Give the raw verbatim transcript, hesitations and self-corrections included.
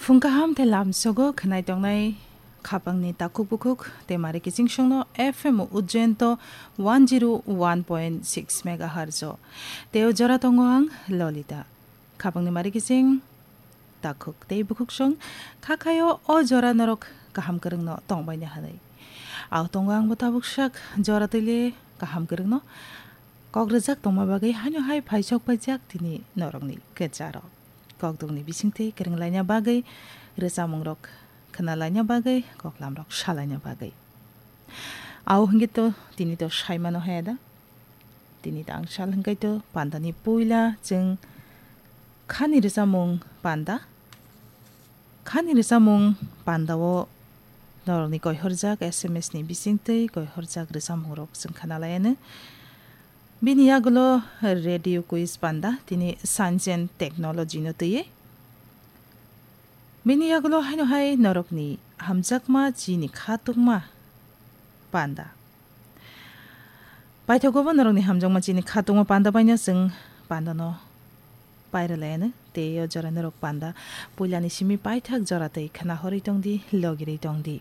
Phung kaham tei lamsogo khwnai tongnai khapangni takhuk bukhuk tei mari kiching songno F M Ujjain to one zero one point six megahertz o. Tei o jora tongo ang Lolita. Khapangni mari kiching takhuk tei bukhuk song kha khaio o jora norok kaham kwrwngno tongbaina hwnwi. Ao tongo angbo tabuk sak jora twi le kaham kwrwngno kok rwjak tongma bagwi haino hai phaisok paijak tini norokni kwcharo. Kokdukni bisingtwi kwrwng laina bagwi, rwchapmungrok khwna laina bagwi, koklamrok salaina bagwi. Ao hwnkhe to tini to saimano haya da? Tini to ang sal hwnkhe to pandani puila chwng khani rwchapmung panda. Khani rwchapmung pandao norokni koihorjak S M S ni bisingtwi koihorjak rwchapmungrok chwng khwna laianw. Bini yagulo radio quiz panda tini science and technology no twiwi. Bini yagulo haino hai norokni hamjakma chini khatungma panda. Paithago bo norokni hamjakma chini khatungma panda baino chwng pandano pairwlaianw tei o jora norok panda puilani simi paithak jora tei khwna horwi tongdi, logirwi tongdi.